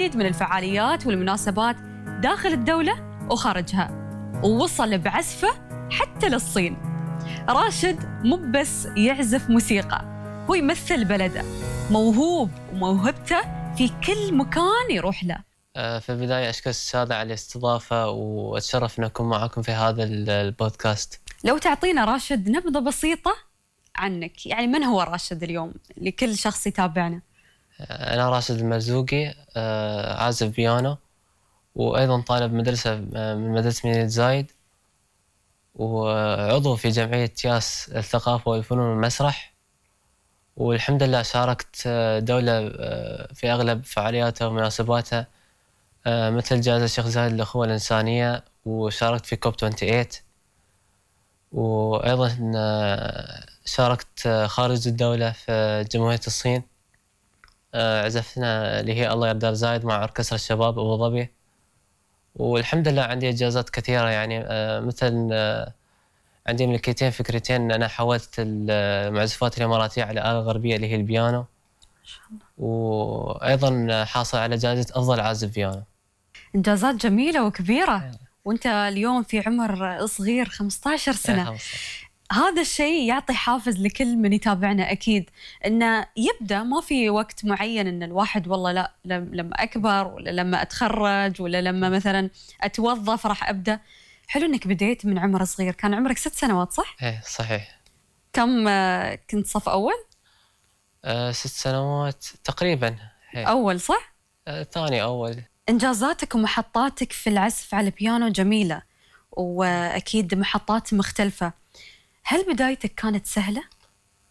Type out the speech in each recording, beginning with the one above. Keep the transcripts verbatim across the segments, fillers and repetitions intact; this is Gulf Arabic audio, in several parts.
من الفعاليات والمناسبات داخل الدولة وخارجها، ووصل بعزفه حتى للصين. راشد مو بس يعزف موسيقى، هو يمثل بلده، موهوب وموهبته في كل مكان يروح له. في البداية أشكر السادة على الاستضافة، وأتشرف أن أكون معكم في هذا البودكاست. لو تعطينا راشد نبذة بسيطة عنك، يعني من هو راشد اليوم لكل شخص يتابعنا؟ أنا راشد المرزوقي، عازف بيانو، وأيضا طالب مدرسة من مدرسة مدينة زايد، وعضو في جمعية ياس الثقافة والفنون والمسرح. والحمد لله شاركت دولة في أغلب فعالياتها ومناسباتها، مثل جائزة الشيخ زايد للأخوة الإنسانية، وشاركت في كوب ثمانية وعشرين، وأيضا شاركت خارج الدولة في جمهورية الصين. عزفنا اللي هي الله يرضى زايد مع أوركسترا الشباب أبو ظبي. والحمد لله عندي إنجازات كثيرة، يعني مثل عندي ملكيتين فكرتين. أنا حولت المعزوفات الإماراتية على آلة غربية اللي هي البيانو، وأيضا حاصل على جائزة أفضل عازف بيانو. إنجازات جميلة وكبيرة، وأنت اليوم في عمر صغير خمسة عشر سنة. هذا الشيء يعطي حافز لكل من يتابعنا أكيد، إنه يبدأ ما في وقت معين إن الواحد والله لا لما أكبر ولا لما أتخرج ولا لما مثلا أتوظف راح أبدأ. حلو إنك بديت من عمر صغير. كان عمرك ست سنوات صح؟ إيه صحيح. كم كنت صف أول؟ أه ست سنوات تقريبا. هي. أول صح؟ أه ثاني أول. إنجازاتك ومحطاتك في العزف على البيانو جميلة، وأكيد محطات مختلفة. هل بدايتك كانت سهلة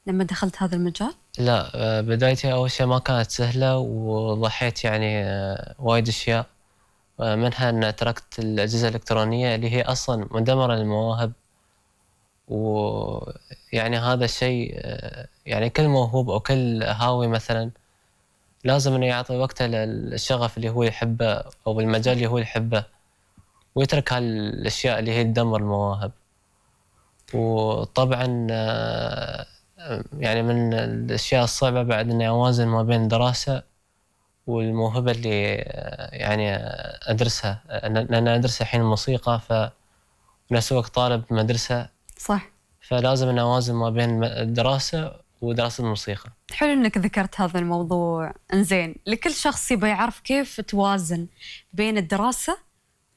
لما دخلت هذا المجال؟ لا، بدايتي أول شيء ما كانت سهلة، وضحيت يعني وايد أشياء، منها أن تركت الأجهزة الإلكترونية اللي هي أصلاً مدمرة للمواهب. ويعني هذا الشيء يعني كل موهوب أو كل هاوي مثلاً لازم إنه يعطي وقته للشغف اللي هو يحبه أو المجال اللي هو يحبه، ويترك هالأشياء اللي هي تدمر المواهب. وطبعاً يعني من الأشياء الصعبة بعد إني أوازن ما بين الدراسة والموهبة اللي يعني أدرسها، لأن أنا أدرس الحين الموسيقى، فنفس الوقت طالب مدرسة صح، فلازم أن أوازن ما بين الدراسة ودراسة الموسيقى. حلو إنك ذكرت هذا الموضوع. إنزين، لكل شخص يبغى يعرف كيف توازن بين الدراسة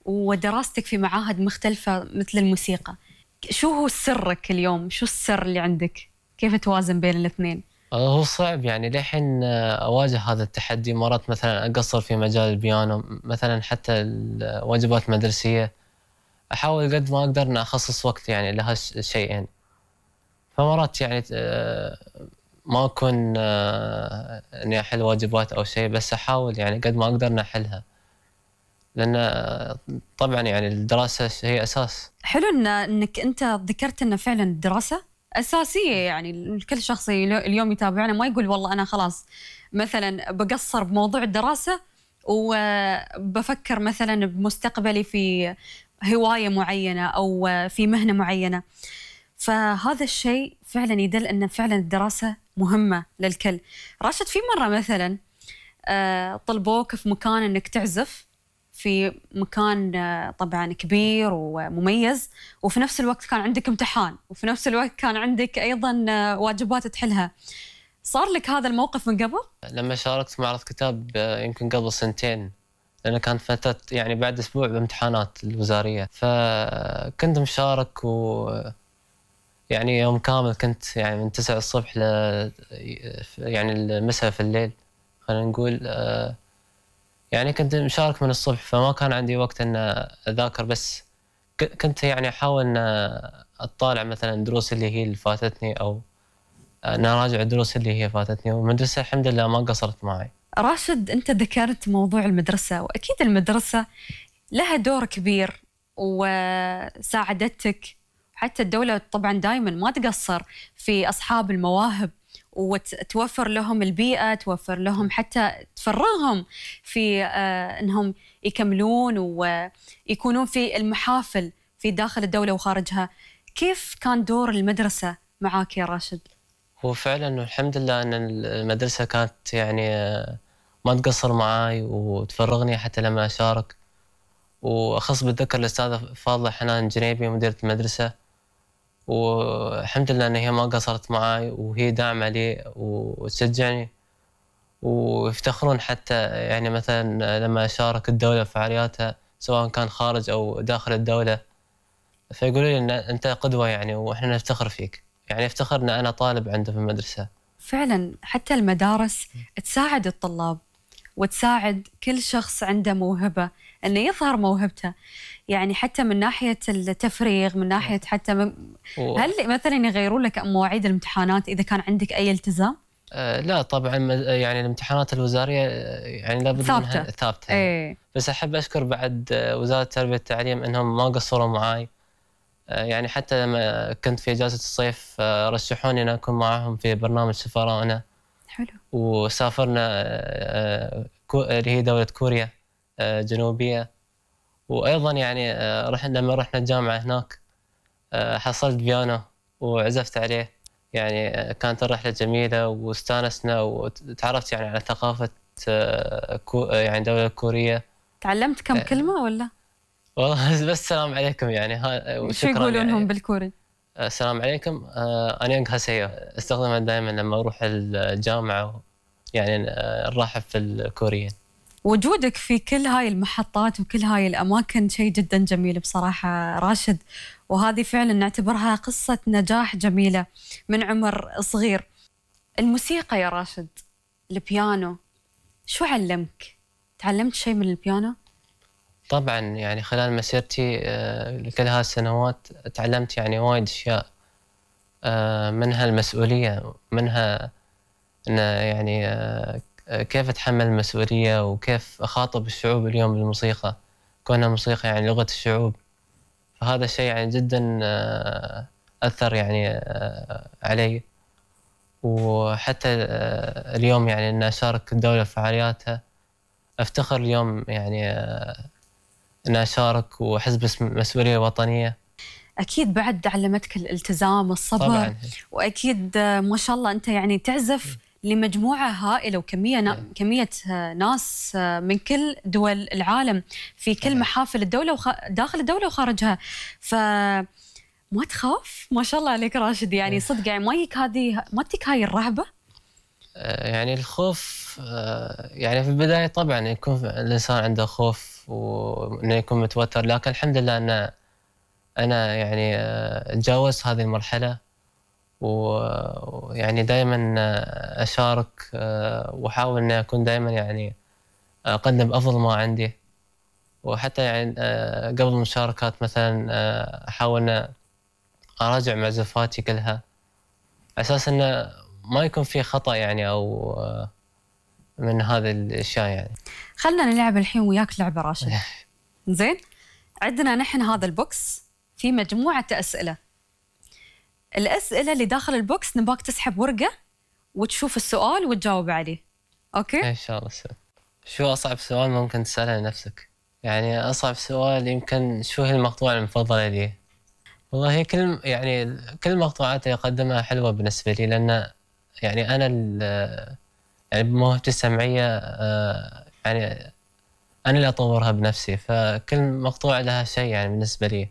ودراستك في معاهد مختلفة مثل الموسيقى، شو هو سرك اليوم؟ شو السر اللي عندك؟ كيف توازن بين الاثنين؟ هو صعب، يعني لحين أواجه هذا التحدي. مرات مثلا أقصر في مجال البيانو، مثلا حتى الواجبات المدرسية أحاول قد ما أقدر أن أخصص وقت يعني لها الشيئين. فمرات يعني ما أكون أني أحل واجبات أو شيء، بس أحاول يعني قد ما أقدر أن أحلها، لأن طبعا يعني الدراسة هي أساس. حلو إن إنك أنت ذكرت إن فعلا الدراسة أساسية، يعني كل شخص اليوم يتابعنا ما يقول والله أنا خلاص مثلا بقصر بموضوع الدراسة وبفكر مثلا بمستقبلي في هواية معينة أو في مهنة معينة. فهذا الشيء فعلا يدل أن فعلا الدراسة مهمة للكل. راشد، في مرة مثلا طلبوك في مكان أنك تعزف في مكان طبعا كبير ومميز، وفي نفس الوقت كان عندك امتحان، وفي نفس الوقت كان عندك أيضا واجبات تحلها. صار لك هذا الموقف من قبل؟ لما شاركت في معرض كتاب يمكن قبل سنتين، لأنه كانت فترة يعني بعد أسبوع بامتحانات الوزارية، فكنت مشارك، و يعني يوم كامل كنت يعني من تسعة الصبح ل يعني المساء في الليل خلينا نقول. يعني كنت مشارك من الصبح، فما كان عندي وقت أن أذاكر، بس كنت يعني أحاول أن أطالع مثلا الدروس اللي هي اللي فاتتني، أو أن أراجع الدروس اللي هي فاتتني. والمدرسة الحمد لله ما قصرت معي. راشد، أنت ذكرت موضوع المدرسة، وأكيد المدرسة لها دور كبير وساعدتك. حتى الدولة طبعا دائما ما تقصر في أصحاب المواهب، وتوفر لهم البيئة، توفر لهم حتى تفرغهم في آه أنهم يكملون ويكونون في المحافل في داخل الدولة وخارجها. كيف كان دور المدرسة معاك يا راشد؟ هو فعلا الحمد لله أن المدرسة كانت يعني ما تقصر معاي وتفرغني حتى لما أشارك. وأخص بالذكر الأستاذة فاضلة حنان الجنيبي مديرة المدرسة، والحمد لله إن هي ما قصرت معاي وهي داعمة لي وتشجعني، ويفتخرون حتى يعني مثلا لما أشارك الدولة في فعالياتها سواء كان خارج أو داخل الدولة، فيقولوا لي إن أنت قدوة يعني وإحنا نفتخر فيك، يعني افتخر إن أنا طالب عنده في المدرسة. فعلا حتى المدارس تساعد الطلاب وتساعد كل شخص عنده موهبة أنه يظهر موهبته، يعني حتى من ناحية التفريغ، من ناحية حتى من و... هل مثلا يغيرون لك مواعيد الامتحانات إذا كان عندك أي التزام؟ أه لا طبعا، يعني الامتحانات الوزارية يعني لابد ثابتة. منها ثابتة. ايه. بس أحب أشكر بعد وزارة التربية والتعليم أنهم ما قصروا معاي، يعني حتى لما كنت في إجازة الصيف رشحوني أن أكون معهم في برنامج سفراءنا. حلو. وسافرنا اللي هي دولة كوريا الجنوبية، وأيضا يعني رحنا لما رحنا الجامعة هناك حصلت بيانو وعزفت عليه، يعني كانت الرحلة جميلة واستانسنا وتعرفت يعني على ثقافة يعني دولة كورية. تعلمت كم كلمة ولا؟ والله بس السلام عليكم يعني ها. شو يقولون يعني هم بالكوري؟ السلام عليكم أنيونغ هاسيو، استخدمها دائما لما أروح الجامعة يعني نرحب في الكوريين. وجودك في كل هاي المحطات وكل هاي الأماكن شيء جدا جميل بصراحة راشد، وهذه فعلا نعتبرها قصة نجاح جميلة من عمر صغير. الموسيقى يا راشد، البيانو، شو علمك؟ تعلمت شيء من البيانو؟ طبعا يعني خلال مسيرتي لكل هالسنوات تعلمت يعني وايد أشياء، منها المسؤولية، منها أن يعني كيف أتحمل المسؤولية وكيف أخاطب الشعوب اليوم بالموسيقى، كونها موسيقى يعني لغة الشعوب. فهذا الشيء يعني جدا أثر يعني علي، وحتى اليوم يعني أن أشارك الدولة في فعالياتها أفتخر اليوم يعني أن أشارك وأحس بمسؤولية وطنية. أكيد بعد علمتك الالتزام والصبر طبعاً. وأكيد ما شاء الله أنت يعني تعزف لمجموعة هائلة وكمية نا... كمية ناس من كل دول العالم في كل محافل الدولة وخ... داخل الدولة وخارجها، ف ما تخاف؟ ما شاء الله عليك راشد، يعني صدق يعني ما يك هذه ما تك هاي الرهبة؟ يعني الخوف يعني في البداية طبعا يكون الإنسان عنده خوف وإنه يكون متوتر، لكن الحمد لله أن أنا يعني تجاوزت هذه المرحلة، ويعني دائما أشارك وأحاول إني أكون دائما يعني أقدم أفضل ما عندي، وحتى يعني قبل المشاركات مثلا أحاول إن أراجع معزوفاتي كلها على أساس إنه ما يكون في خطأ يعني أو من هذه الأشياء. يعني خلنا نلعب الحين وياك لعبة راشد. زين، عندنا نحن هذا البوكس في مجموعة أسئلة، الأسئلة اللي داخل البوكس نباك تسحب ورقة وتشوف السؤال وتجاوب عليه. أوكي؟ إن شاء الله. شو أصعب سؤال ممكن تسأله لنفسك؟ يعني أصعب سؤال يمكن شو هي المقطوعة المفضلة لي؟ والله هي كل يعني كل المقطوعات اللي أقدمها حلوة بالنسبة لي، لأن يعني أنا يعني بموهبتي السمعية يعني أنا اللي أطورها بنفسي، فكل مقطوعة لها شيء يعني بالنسبة لي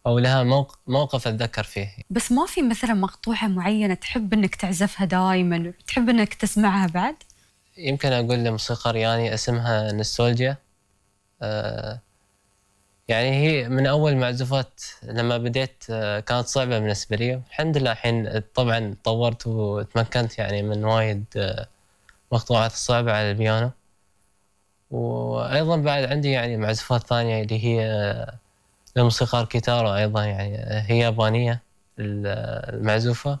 أو لها موقف موقف أتذكر فيه. بس ما في مثلا مقطوعة معينة تحب إنك تعزفها دائما، تحب إنك تسمعها بعد؟ يمكن أقول لموسيقى رياني اسمها نوستالجيا، آه يعني هي من أول معزوفات لما بديت آه كانت صعبة بالنسبة لي، الحمد لله الحين طبعا طورت وتمكنت يعني من وايد آه مقطوعات الصعبة على البيانو. وأيضا بعد عندي يعني معزوفات ثانية اللي هي آه لموسيقار كيتارو، أيضا يعني هي يابانية المعزوفة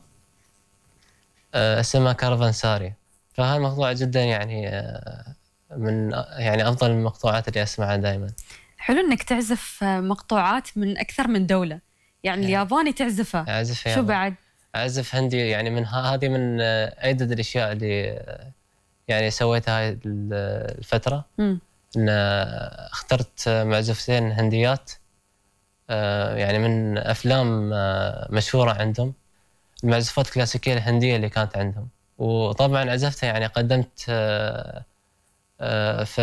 آه اسمها كارفانساري، فهالمقطوعة جدا يعني آه من يعني أفضل المقطوعات اللي أسمعها دائما. حلو إنك تعزف مقطوعات من أكثر من دولة، يعني الياباني تعزفها، أعزف شو ياباني. بعد؟ أعزف هندي، يعني من هذه من أعدد الأشياء اللي يعني سويتها هاي الفترة. م. إن اخترت معزوفتين هنديات يعني من أفلام مشهورة عندهم، المعزوفات الكلاسيكية الهندية اللي كانت عندهم، وطبعا عزفتها يعني قدمت آه، في